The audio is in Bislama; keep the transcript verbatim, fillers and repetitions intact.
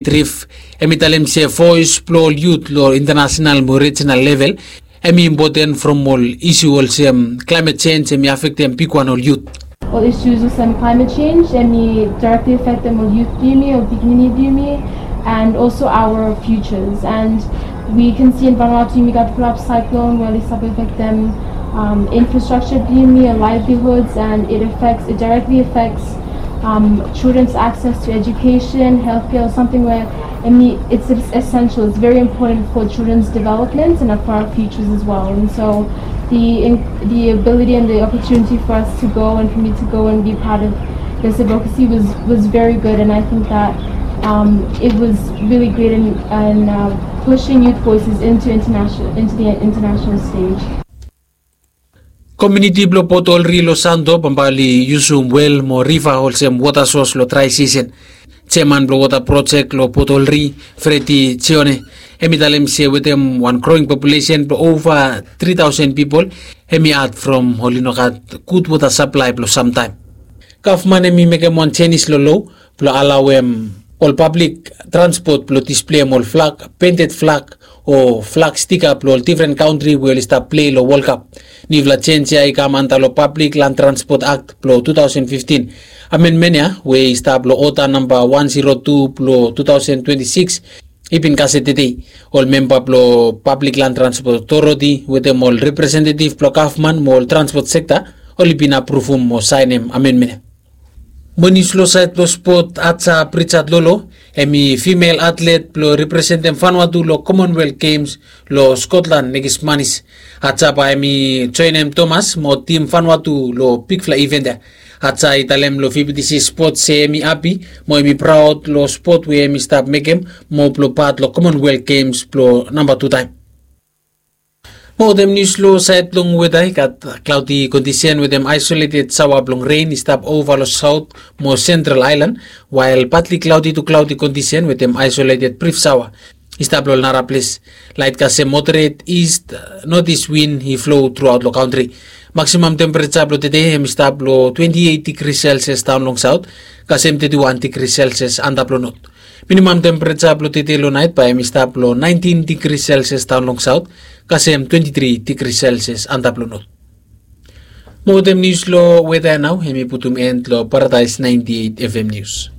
Triff, hemi talem se voes blong ol yut long international mo rijinal level hemi impoten from ol isu olsem klaemet jenj hemi afektem bigwan ol yut. Ol issues olsem climate change hemi directly affectem ol yut blong yumi, ol pikinini blong yumi, and also our futures. And we can see in Vanuatu yumi gat flap cyclone where oli stap affectem um, infrastructure blong yumi, livelihoods, and it affects, it directly affects um, children's access to education, healthcare, or something where I mean, it's, it's essential. It's very important for children's development and for our futures as well. And so the in, the ability and the opportunity for us to go and for me to go and be part of this advocacy was, was very good. And I think that um, it was really great in, in uh, pushing youth voices into international into the international stage. Komuniti blong Port Olri long Santo bambae oli yusum wel mo riva olsem wota sos long drae sisen. Jeaman blong wota projek long Port Olri, Fredi Jeone, hemi talem se wetem wan groing populesen blong ova tri taosen pipol, hemi had from oli no gat gud wota saplae blong samtaem. Gavman hemi mekem wan jenis long lo blong alaoem ol pablik transpot blong displeim ol flag, pented flag, o flag stika blong ol difren kantri we oli stap plei long Wolkap. Niufala jenj ya i kam anta long Pablik Lan Transpot Akt blong tu taosen fiftin. Amenmen ya we i stap long ota namba wan zero tu blong tu taosen twenti sikis i bin kasem tede. Ol memba blong Pablik Lan Transpot Otoriti wetem ol representetif blong gavman mo ol transpot sekta oli bin apruvum mo saenem amenmen ya. Mo nius long saed blong spot, Aja Pritchard Lolo, hemi fimel atlet blong representem Vanuatu long Commonwealth Games long Scotland nekis manis. Aja bae hemi joenem Thomas mo tim Vanuatu long bigfala iven ya. Aja i talem long V B T C Sport se hemi hapi mo hemi praod long spot we hemi stap mekem mo blong pat long Commonwealth Games blong namba tu taem. Mo wetem nius long saed blong weta, i gat klaodi kondisen wetem aesoleted saoa blong ren i stap ova long saot mo sentral aelan, wael patli klaodi tu klaodi kondisen wetem aesoleted brif saoa i stap long ol nara ples. Laet kasem moderet ist notis win i flo truaot long kantri. Maksimam tempereja blong tede hemi stap long twenti eit digri selsias daon long saot, kasem teti wan digri selsias antap long not. Minimam tempereja blong tede long naet bae hemi stap long naentin digri selsias daon long saot, kasem twenti tri digri selsias antap long not. Mo wetem nius long weta ya nao hemi putum en long Paradaes naenti eit F M nius.